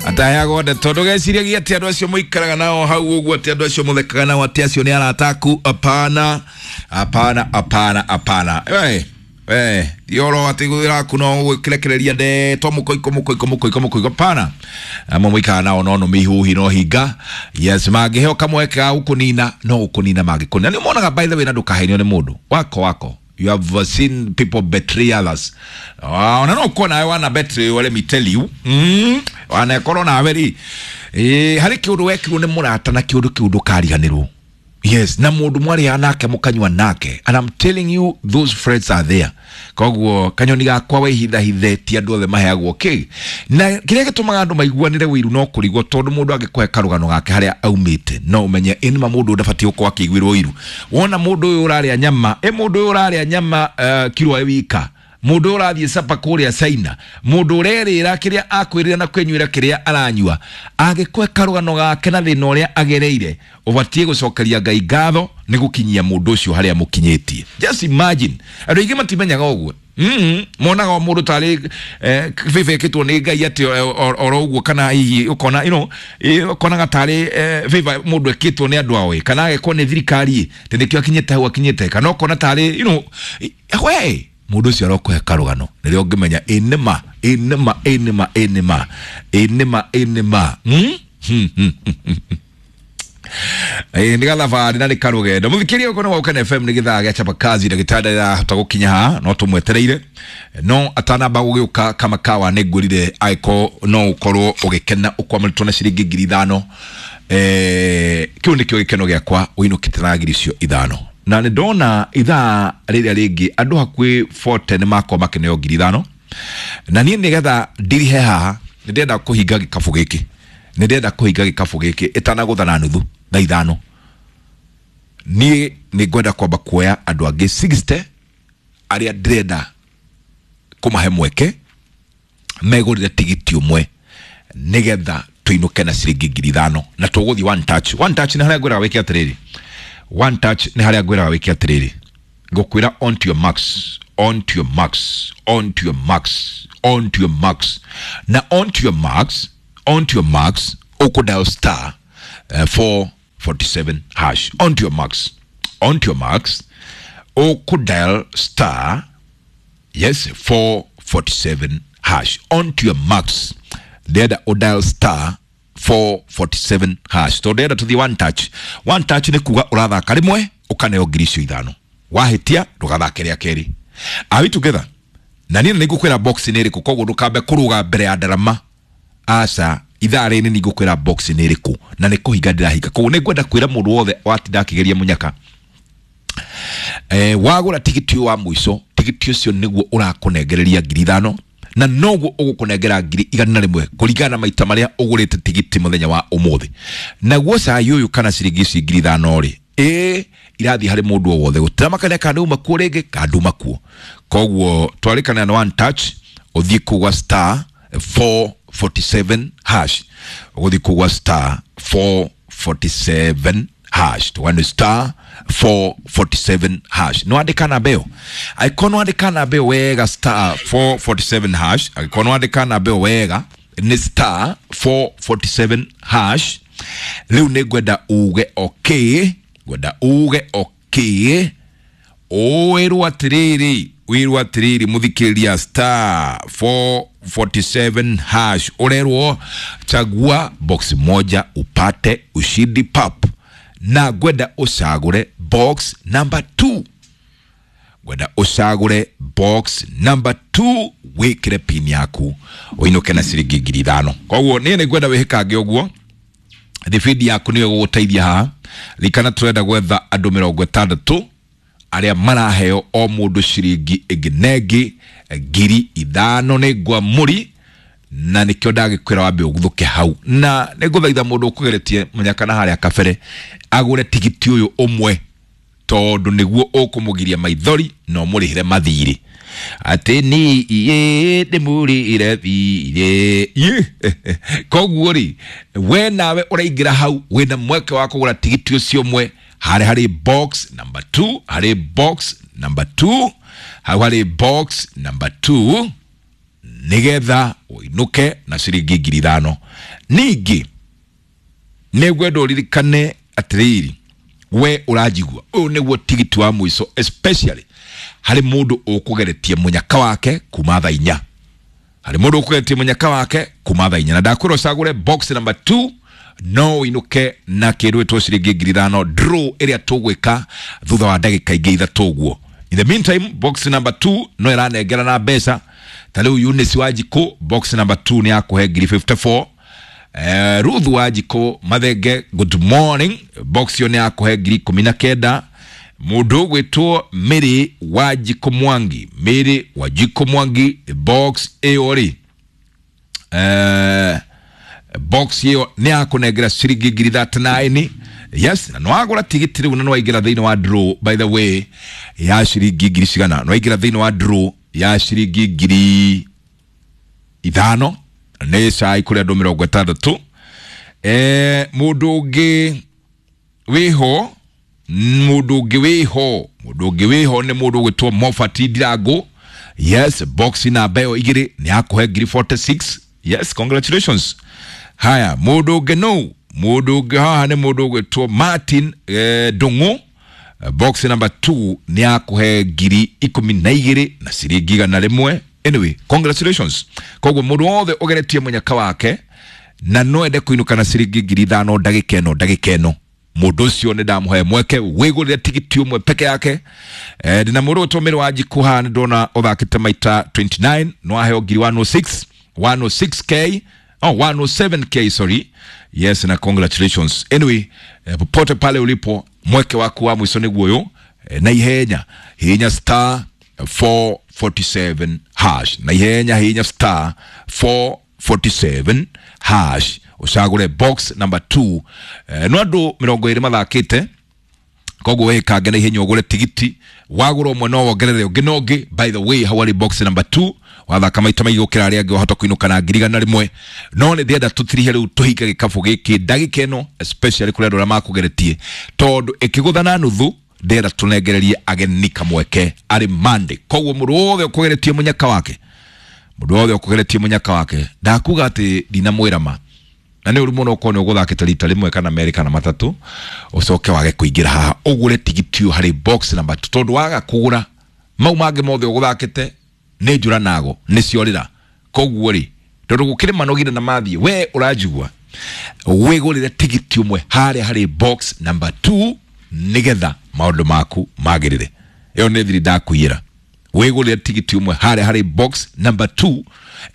Ataheagwo ndeto ndũgeciragie atĩ andũ acio mũikaraga nao hau ũguo, atĩ andũ acio mũthekaga nao, atĩ acio nĩ arata aku. Hapana, hapana, hapana, hapana. We we ti oro atĩ wĩra no gwĩrekereria ndeto mũkoiko mũkoiko mũkoiko mũkoiko, pana amwe mũikaraga nao no nũme ihuhi no hinga. Yes, mangĩheo kamweke ga gũkũnina no gũkũnina mangĩkũnina. Nĩ monaga, by the way, na ndũkahenio nĩ mũndũ wako wako. You have seen people betray others. Ona no kuona nawe wana betray, let me tell you. Wanakorwo nawe rĩ, harĩ kĩũndũ wekirwo nĩ mũrata na kĩũndũ kĩu ndũkariganĩrwo. Yes, na mũndũ mwarĩaga nake mũkanyua nake, and I'm telling you, those friends are there. Koguo kanyoni gakwa, wĩhithahithe, ti andũ othe maheagwo kĩ na kĩrĩa gĩtũmaga andũ maiguanĩre wĩiru no kũrigwo, tondũ mũndũ angĩkũhe karũgano gake harĩa aumĩte no ũmenye ĩnĩma mũndũ ndabatiĩ gũkorwo akĩiguĩrwo ũiru. Wona mũndũ ũyũ ũrarĩa nyama, ĩ mũndũ ũyũ ũrarĩa nyama kiro ĩ wika, mũndũ ũyũ ũrathiĩ capa kũrĩa China, mũndũ ũrerĩra kĩrĩa akwĩrĩra na kwĩnyuĩra kĩrĩa aranyua, angĩkũhe karũgano gake na thĩna ũrĩa agereire, ũbatiĩ gũcokeria Ngai ngatho nĩ gũkinyia mũndũ ũcio harĩa mũkinyĩtie. Just imagine, andũ aingĩ matimenyaga ũguo. Monaga o mũndũ tarĩ favor ĩkĩtwo nĩ Ngai atĩ oro ũguo, kana hihi ũkona ũkonaga tarĩ favor mũndũ ĩkĩtwo nĩ andũ ao, kana agekwo nĩ thirikari atĩ nĩkĩo akinyĩte hau akinyĩte, kana ũkona tarĩ we mũndũ ũcio arokũhe karũgano nĩrĩo ũngĩmenya ĩnĩma ĩnĩma ĩnĩma ĩnĩma ĩnĩma ĩnĩma. Ĩĩ, nĩ gathabarĩ na nĩ karũgendo. Mũthikĩria ũko nĩ wa FM, nĩ gĩthaa gĩa chapa kazi. Ndagĩtarĩ ndarahota gũkinya haha no tũmwetereire, no atanamba gũgĩũka kama kawa nĩ ngwĩrire angĩkorwo no ũkorwo ũgĩkena ũkwamũrĩtwo na ciringi 5,000, kĩu nĩkĩo gĩkeno gĩakwa, ũinũkĩte na 5,000. Na nĩ ndona ithaa rĩrĩa rĩngĩ andũ hakuhĩ 40 nĩ makorwo makĩneo 5,000, na niĩ nĩgetha ndirihe haha nĩ ndĩrenda kũhinga gĩkabũ gĩkĩ, nĩ ndĩrenda kũhinga gĩkabũ gĩkĩ ĩtanagũtha na nuthu thaa 5. Niĩ nĩ ngwenda kwamba kuoya andũ angĩ 60 arĩa ndĩrenda kũmahe mweke megũrĩre tigiti ũmwe nĩgetha tũinũke na ciringi 5,000, na tũgũthiĩ one touch. One touch nĩ harĩa ngwĩraga wĩke atĩrĩrĩ, one touch nĩ harĩa ngwĩraga wĩke atĩrĩrĩ, ngũkwĩra on to your marks, on to your marks, on to your marks, on to your marks, na on to your marks, on to your marks, ũkũ dial star 447 hash. On to your marks, on to your marks, ũkũ dial star, yes, 447 hash. On to your marks, ndĩrenda ũdial star 447 hash tondũ ndĩrenda tũthiĩ one touch. One touch nĩ kuga ũrathaka rĩmwe ũkaneo 5,000, wahĩtia ndũgathake rĩa kerĩ. Are we together? Na niĩ nĩ ngũkwĩra box nĩ ĩrĩkũ, koguo ndũkambe kũrũga mbere ya ndarama. Aca, ithaa rĩrĩ nĩ ngũkwĩra box nĩ ĩrĩkũ na nĩ kũhinga ndĩrahinga. Koguo nĩ ngwenda kwĩra mũndũ wothe watinda akĩgeria mũnyaka, wagũra tigiti ũyũ wa mũico, tigiti ũcio nĩguo ũrakũnengereria 5,000 na noguo ũgũkũnengera 100,000 kũringana na maita marĩa ũgũrĩte tigiti mũthenya wa ũmũthĩ. Naguo cai ũyũ kana ciringi ici 5,000 rĩ, ĩ irathiĩ harĩ mũndũ o wothe, gũtiramakania kana nĩ uma kuo rĩngĩ kana nduma kuo. Koguo twarĩkanĩra na one touch, ũthiĩ kũu gwa star 447 hash, ũgũthiĩ kũu gwa star 447 hash, tũgane star 447 hash. Nĩ wandĩka namba ĩyo? Angĩkorwo nĩ wandĩka namba ĩyo wega, star 447 hash, angĩkorwo nĩ wandĩka namba ĩyo wega nĩ star 447 hash. Rĩu nĩ ngwenda uge okay, ngwenda uge okay, wĩrwo atĩrĩrĩ, wĩrwo atĩrĩrĩ mũthikĩrĩria, star 447 hash, ũrerwo chagua box moja upate ushindi pap, na ngwenda ũcagũre box number 2, ngwenda ũcagũre box number 2, wĩkĩre pin yaku ũinũke na ciringi 5,000. Koguo niĩ nĩ ngwenda wĩhĩkange ũguo, thibindi yaku nĩyo ĩgũgũteithia haha. Rikana tũrenda gwetha andũ 60 arĩa maraheo o mũndũ ciringi ĩngĩ na ĩngĩ 5,000. Nĩ ngwamũri na nĩkĩo ndagĩkwĩra wambe ũguthũke hau, na nĩ ngũthaitha mũndũ ũkũgeretie mũnyaka na harĩa kabere agũre tigiti ũyũ ũmwe, tondũ nĩguo ũkũmũgiria maithori na ũmũrĩhĩre mathirĩ atĩ ni iĩ ndĩmũrĩhĩre thirĩ. Koguo rĩ, we nawe ũraingĩra hau wĩna mweke wa kũgũra tigiti ũcio ũmwe harĩ harĩ box number 2, harĩ box number 2, hau harĩ box number 2. Nigetha uinuke na ciringi 5,000. Ningĩ nĩngwenda ũririkane atĩrĩrĩ, we ũranjigua, ũyũ nĩguo tigiti wa mũico, especially harĩ mũndũ ũkũgeretie mũnyaka wake kuma thaa 4. Harĩ mũndũ ũkũgeretie mũnyaka wake kuma thaa 4, na ndakwĩra ũcagũre box number 2 no ũinũke na kĩndũ gĩtwo ciringi 5,000 draw ĩrĩa tũgwĩka thutha wa ndagĩka ingĩ 3 ũguo. In the meantime, box number 2 no ĩranengera na mbeca. Ta rĩu Eunice Wanjikũ, box number 2 nĩ yakũhe 54,000. Ruth Wanjikũ Mathenge, good morning, box ĩyo nĩ yakũhe 19,000. Mũndũ ũgwĩtwo Mary Wanjikũ Mwangi, Mary Wanjikũ Mwangi, box ĩyo rĩ, box ĩyo nĩ yakũnengera ciringi 39,000. Yes, na nĩwagũra tigiti rĩu na nĩwaingĩra thĩinĩ wa draw, by the way, ya ciringi ngiri cigana, nĩwaingĩra thĩinĩ wa draw ya ciringi 5,000 nĩ cai kũrĩ andũ 60. Mũndũ ũngĩ wĩho, mũndũ ũngĩ wĩho, mũndũ ũngĩ wĩho nĩ mũndũ ũgwĩtwo Mofati Ndirango. Yes, box namba ĩyo 2 nĩ yakũhe 46,000. Yes, congratulations. Haya, mũndũ ũngĩ no, mũndũ ũngĩ haha nĩ mũndũ ũgwĩtwo Martin Ndung'u. Box number 2 nĩ yakũhe 12,000 na ciringi 100. Anyway, congratulations. Koguo mũndũ wothe ũgeretie mũnyaka wake na no ende kũinũka na ciringi 5,000 ndagĩka ĩno, ndagĩka ĩno, mũndũ ũcio nĩ ndamũhe mweke wĩgũrĩre tigiti ũmwe peke yake. Ndĩna mũndũ ũgwĩtwo Mary Wanjikũ haha, nĩ ndona ũthakĩte maita 29, no aheo 106, 106k, oh, 107k, sorry. Yes, na congratulations. Anyway, popote pale ulipo, mweke waku wa mwico nĩguo ũyũ, na ihenya hinya star 447 hash, na ihenya hinya star 447 hash, ũcagũre box number 2. No andũ 20 mathakĩte, koguo wĩkange na ihenya ũgũre tigiti, wagũra ũmwe no wongerere ũngĩ na ũngĩ. By the way, hau harĩ box number 2 wathaka maita maingĩ gũkĩra arĩa angĩ, wahota kũinũka na 100,000. No nĩ ndĩrenda tũtirihe rĩu tũhinge gĩkabũ gĩkĩ ndagĩka ĩno, especially kũrĩ andũ arĩa makũgeretie, tondũ ĩkĩgũtha na nuthu ndĩrenda tũnengererie ageni kamweke arĩ Monday. Koguo mũndũ wothe ũkũgeretie mũnyaka wake, mũndũ wothe ũkũgeretie mũnyaka wake, ndakuga atĩ ndinamwĩra ma, na nĩ ũru mũno ũkorwo nĩ ũgũthakĩte rita rĩmwe kana merĩ kana matatũ ũcoke wage kũingĩra haha ũgũre tigiti ũyũ harĩ box number 2, tondũ waga kũgũra mau mangĩ mothe ũgũthakĩte nĩ njũra nago nĩ ciorĩra. Koguo rĩ, tondũ gũkĩrĩ manogire na mathiĩ, we ũranjigua, wĩgũrĩre tigiti ũmwe harĩa harĩ box number 2 nĩgetha maũndũ maku magĩrĩre. Ĩyo nĩ thiri ndakũiyĩra. Wĩgũrĩre tigiti ũmwe harĩa harĩ box number 2,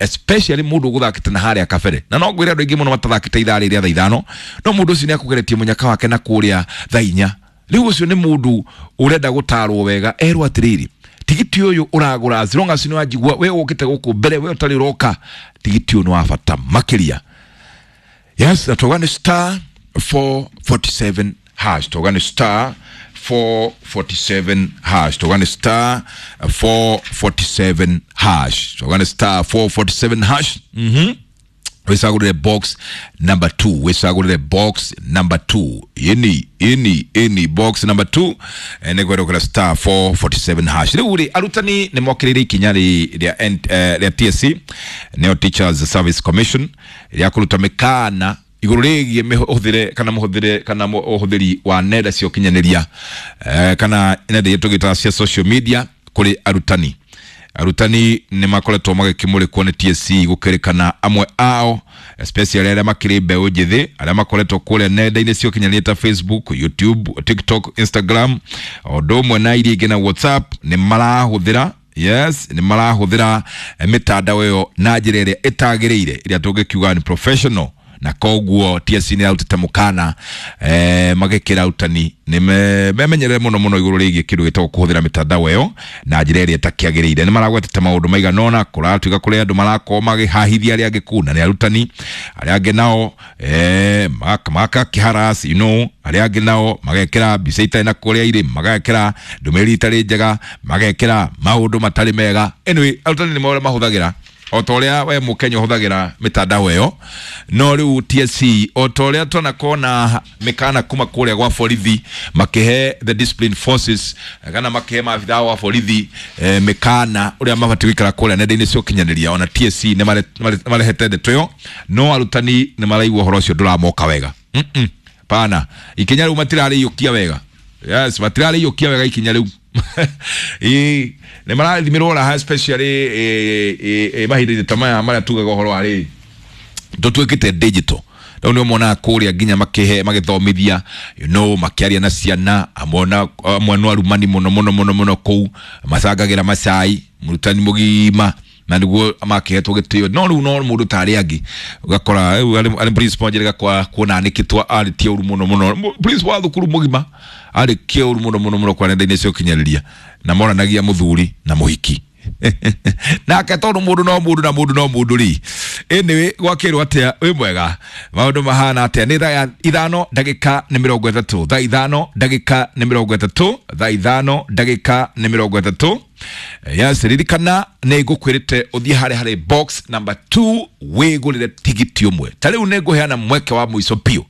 especially mũndũ ũgũthakĩte na harĩa kabere. Na no ngwĩre andũ aingĩ mũno matathakĩte ithaa rĩrĩa thaa 5, no mũndũ ũcio nĩ akũgeretie mũnyaka wake na kũrĩa thaa 4. Rĩu ũcio nĩ mũndũ ũrenda gũtarwo wega, erwo atĩrĩrĩ, tigiti ũyũ ũragũra as long as nĩ wanjigua we ũkĩte gũkũ mbere, we ũtarĩ ũroka, tigiti ũyũ nĩ wa bata makĩria. Yes, na tauga nĩ star 447 hash, tauga nĩ star 447 hash, tauga nĩ star 447 hash, tauga nĩ star 447 hash. Wĩcagũrĩre box number 2, wĩcagũrĩre box number 2, ini ini ini box number 2, nĩ kwerũkĩra star 447 hash. Rĩu rĩ, arutani nĩ mokĩrĩire ikinya rĩa TSC, nĩyo Teachers Service Commission, rĩa kũruta mĩkana igũrũ rĩgiĩ mĩhũthĩre kana mũhũthĩre kana ũhũthĩri wa nenda cia ũkinyanĩria, kana nenda iria tũgĩtaga cia social media kũrĩ arutani. Arutani nĩ makoretwo magĩkĩmũrĩkwo nĩ TSC gũkĩrĩkana amwe ao, especially arĩa makĩrĩ mbeũ njĩthĩ, arĩa makoretwo kũrĩa nenda-inĩ cia ũkinyanĩria ta Facebook, YouTube, TikTok, Instagram, o ũndũ ũmwe na iria ingĩ na WhatsApp, nĩ marahũthĩra, yes, nĩ marahũthĩra mĩtandao ĩyo na njĩra ĩrĩa ĩtagĩrĩire, ĩrĩa tũngĩkiuga nĩ professional. Na koguo TSC nĩ yarutĩte mũkana, magĩkĩra arutani nĩ memenyerere mũno mũno igũrũ rĩgiĩ kĩndũ gĩtagwo kũhũthĩra mĩtandao ĩyo na njĩra ĩrĩa ĩtakĩagĩrĩire. Nĩ maragwetete maũndũ maigana ũna, kũratuĩka kũrĩ andũ marakorwo makĩhahithia arĩa angĩ kũu, na nĩ arutani arĩa angĩ nao, makakĩharas, you know, arĩa angĩ nao magekĩra mbica itarĩ na kũrĩa irĩ, magekĩra ndũmĩrĩri itarĩ njega, magekĩra maũndũ matarĩ mega. Anyway, arutani nĩ marĩa mahũthagĩra O ta ũrĩa we mũkenya ũhũthagĩra mĩtandao ĩyo, no rĩu TSC, o ta ũrĩa twanakorwo na mĩkana kuma kũrĩa gwa borithi makĩhe the discipline forces kana makĩhe maabithaa wa borithi mĩkana ũrĩa mabatiĩ gũikara kũrĩa nenda-inĩ cia ũkinyanĩria, ona TSC nĩ marehete ndeto ĩyo, no arutani nĩ maraigua ũhoro ũcio ndũramoka wega. Pana ikinya rĩu matirarĩiyũkia wega. Yes, matirarĩiyũkia wega ikinya rĩu. Ĩĩ, nĩ marathimĩrwo raha, especially mahinda-inĩ ta maya marĩa tugaga ũhoro wa rĩrĩ tũtuĩkĩte digital. Rĩu nĩ ũmonaga kũrĩa nginya makĩhe magĩthomithia, makĩaria na ciana amwe, na amwe no arumani mũno mũno mũno mũno kũu macangagĩra macai mũrutani mũgima na nĩguo makĩhetwo gĩtĩo. No rĩu no mũndũ ta arĩa angĩ ũgakora rĩu arĩ principal njĩrĩga kwa kuona anĩkĩtwo arĩtie ũru mũno mũno. Principal wa thukuru mũgima arĩkie ũru mũno mũno mũno kwa nenda-inĩ cia ũkinyanĩria, na moranagia mũthuri na mũhiki nake, tondũ mũndũ no mũndũ na mũndũ no mũndũ rĩ. Anyway, gwakĩrwo atĩa? Wĩ mwega? Maũndũ mahana atĩa? Nĩ thaa 5:30, thaa 5:30, thaa 5:30. Yes, ririkana nĩ ngũkwĩrĩte ũthiĩ harĩa harĩ box number 2 wĩgũrĩre tigiti ũmwe. Ta rĩu nĩ ngũheana mweke wa mũico biũ.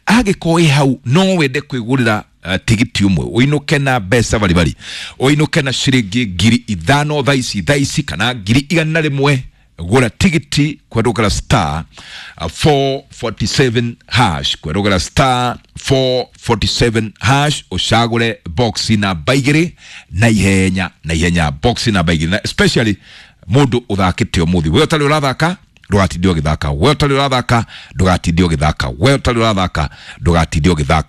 Angĩkorwo wĩ hau no wende kwĩgũrĩra tigiti ũmwe ũinũke na mbeca baribari, ũinũke na ciringi 5,000 thaa ici, thaa ici, kana 100,000, gũra tigiti kwendũkĩra star 447 hash, kwendũkĩra star 447 hash, ũcagũre box namba 2 na ihenya na ihenya, box namba 2. Na especially mũndũ ũthakĩte ũmũthĩ, we ũtarĩ ũrathaka ndũgatinde ũgĩthaka, we ũtarĩ ũrathaka ndũgatinde ũgĩthaka, we ũtarĩ ũrathaka ndũgatinde ũgĩthaka.